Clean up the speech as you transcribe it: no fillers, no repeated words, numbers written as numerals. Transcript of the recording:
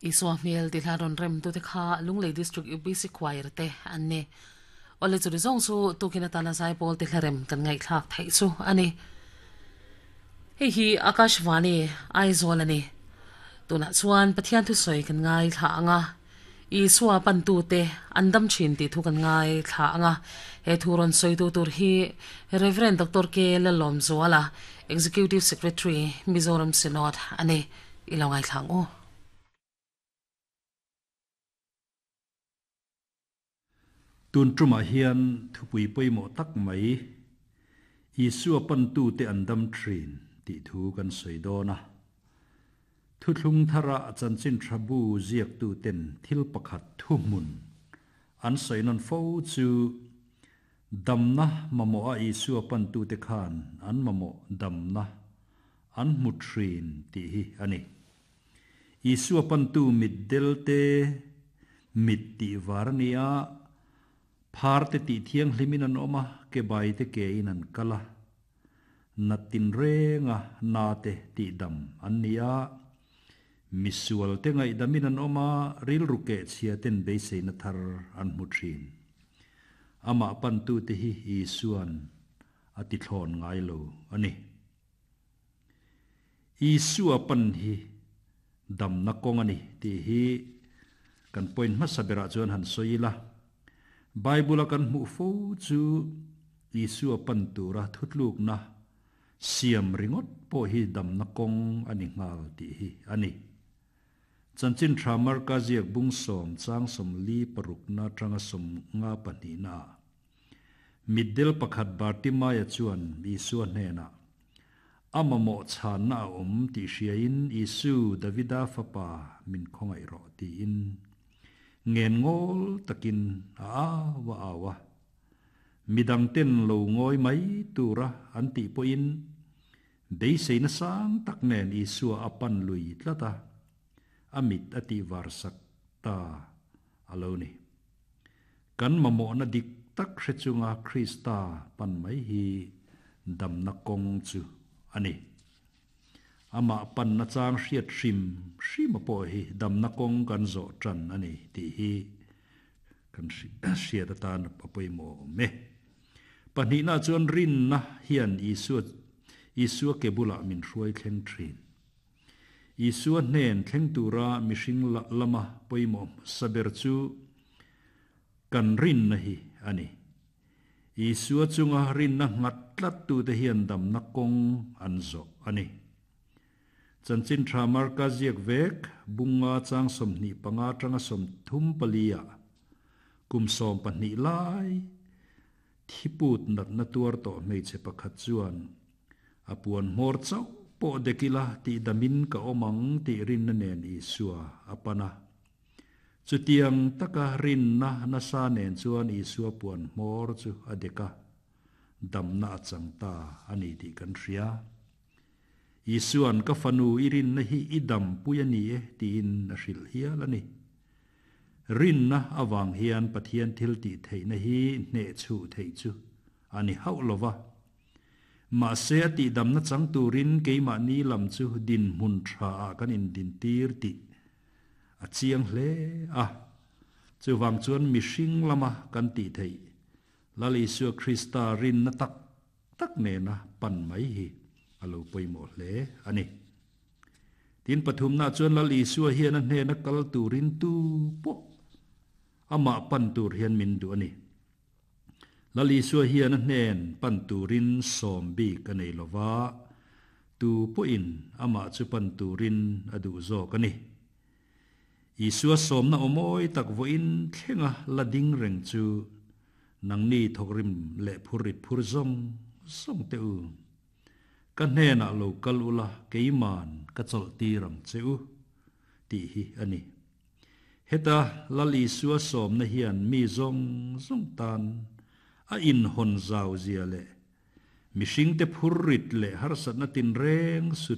Isua hmel ti hla rawn rem tute kha Lunglei District UPC Choir te an ni. Awle churi zawng chu tukin atana zaipawl ti hla rem kan ngaihthlak theih chu a ni. Hei hi Akashvani Aizawl a ni. Tunah chuan Pathian thusawi kan ngaithla ang a, Isua pantute an dam thin tih thu kan ngaithla ang a. He thu rawn sawitu tur hi Rev. Doctor K. Lalawmzuala, Executive Secretary, Mizoram Synod a ni. I lo ngaithla ang u. Tun tumah hian thupui pawimawh tak mai, Isua pantute an dam thin tih thu kan sawi dawn a. Thuthlung thara chanchin tha bu ziaktuten thil pakhat thuhmun an sawi nawn fo chu damna mamawha Isua pantute khan an mamawh damna an hmu thin tih hi a ni. Isua pantu mitdel te mit tih var a ni a, phar te tih thianghlimin an awm a, ke bai te ke in an kal a, nat tinrenga na te tih dam an ni a, misual te ngaihdamin an awm a, rilru keh chhia ten beiseina thar an hmu thin. Amah pantu te hi Isua'n a ti thlawn ngai lo a ni. Isua pan hi damna kawng a ni tih hi kan point hmasa berah chuan han sawi ila. Bible-a kan hmuh fo chu Isua pan tura thutlukna siam ringawt pawh hi damna kawng a ni nghal tih hi a ni. Chanchin tha Marka ziak bung sawm chang sawmli parukna atanga sawmnga pahnihnaah Mitdel pakhat Bartimaia chuan Isua hnenah, A mamawh chhanna a awm tih hriain Isu, Davida fapa, min khawngaih rawh tiin ngen ngawl takin a au a au a. Midangten lo ngawi mai tura an tih pawhin beiseina sang tak nen Isua a pan lui tlat a, a mit a tihvarsak ta a lo ni. Kan mamawhna dik tak hre chunga Krista pan mai hi damna kawng chu a ni. Amah panna chang hriat hrim hrima pawh hi damna kawng kan zawh tan a ni tih hi kan hriat atan a pawimawh awm e. Pahnihna chuan rinna hian Isua Isua ke bulah min hruai thleng thin. Isua hnen thleng tura mihring lama pawimawh hmasa ber chu kan rinna hi a ni. Isua chunga rinna nghat tlattute hian damna kawng an zawh a ni. Chanchin tha Marka ziak vek bunga chang 25 atanga 34 ah kum 12 lai thiput natna tuar tawh hmeichhe pakhat chuan A puan hmawr chauh pawh dek ila tih damin ka awm ang tih rinna nen Isua a pan a. Chutiang taka rinna nasa nen chuan Isua puan hmawr chu a dek a, damna a chang ta a ni tih kan hria. Isua'n ka fanu i rinna hi i dampui a ni e tiin a hrilh hial a ni. Rinna avang hian Pathian thil tih theihna hi hnehchhuh theih chu a ni hauh lo va. Mahse a tihdamna chang turin keimahni lam chu dinhmun tha ah kan indintir tih a chiang hle a. Chuvang chuan mihring lama kan tih theih Lal Isua Krista rinna tak tak nena pan mai hi a lo pawimawh hle a ni. Tin pathumnaah chuan Lal Isua hian a hnena kal turin tu pawh amah pan tur hian min duh a ni. Lal Isua hian a hnen pan turin sawm bik a nei lo va, tu pawhin amah chu pan turin a duh zawk a ni. Isua sawmna awmawi tak vawiin thlenga la ding reng chu nangni thawkrim leh phurrit phur zawng zawng teh u. Ka hnenah lo kal ula keiman ka chawlh tir ang che u, tih hi a ni. Heta Lal Isua sawmna hian mi zawng zawng tan a inhawn zau zia leh mihringte phurrit leh harsatna tinreng sut.